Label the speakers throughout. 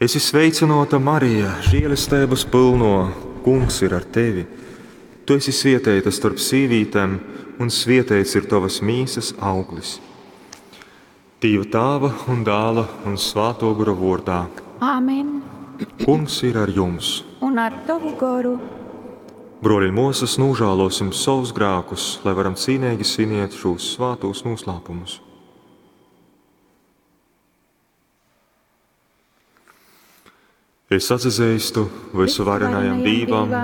Speaker 1: Esi sveicynōta, Marija, želesteibas pylnō, Kungs ir ar tevi. Tu esi svieteita storp sīvītem, un svieteits ir tovas mīsas auglis. Dīva Tāva un Dāla un Svātō Gora vōrdā.
Speaker 2: Āmen.
Speaker 1: Kungs ir ar jums.
Speaker 2: Un ar tovu goru.
Speaker 1: Brōļi un mōsas, nūžālōsim savus grākus, lai varam cīneigi sviniet šūs svātūs noslēpumus. Es atsazeistu vysuvarenajam Dīvam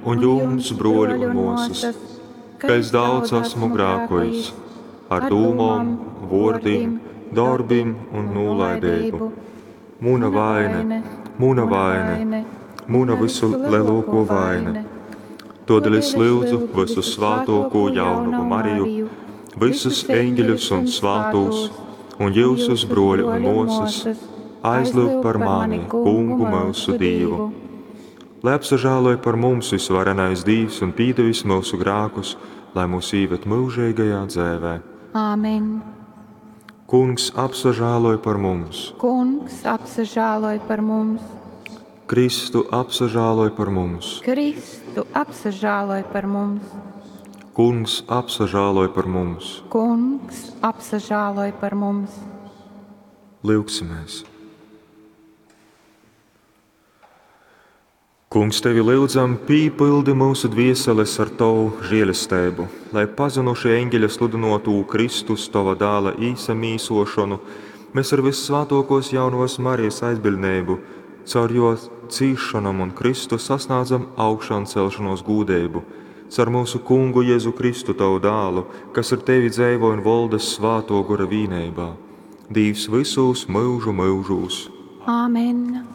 Speaker 1: un jums, brōļi un mōsas, ka es daudz esmu grākojis ar dūmom, vōrdim, dorbim un nūlaideibu. Muna vaine, muna vaine, muna visu lielāko vaine. Todēļ es lūdzu visu svātoko jaunavu Mariju, visus eņģeļus un svātos, un jūsus, broļi un mūsas, aizlūg par mani, Kungu mūsu Dievu. Lai apsažāloj par mums visvarenais Dievs un pīdevis mūsu grākus, lai mūs īved mūžīgajā dzēvē.
Speaker 2: Āmen.
Speaker 1: Kungs apsažāloj par mums.
Speaker 2: Kungs apsažāloj par mums.
Speaker 1: Kristu apsažāloj par mums.
Speaker 2: Kristu apsažāloj par mums.
Speaker 1: Kungs apsažāloj par mums.
Speaker 2: Kungs apsažāloj par mums.
Speaker 1: Lūgsimies! Kungs, tevi lūdzam, pīpildi mūsu dvieseles ar tavu žēlestību, lai pazinuši eņģeļa sludinotū Kristus tava dāla īsamīsošanu, mēs ar vissvātokos jaunavas Marijas aizbiļdnību, caur jo cīšanam un Kristu sasniedzam augšām celšanos gūdību, caur mūsu kungu Jēzu Kristu tavu dālu, kas ar tevi dzēvo un volda svāto gora vīnībā. Dīvs visos mūžu mūžos.
Speaker 2: Āmen.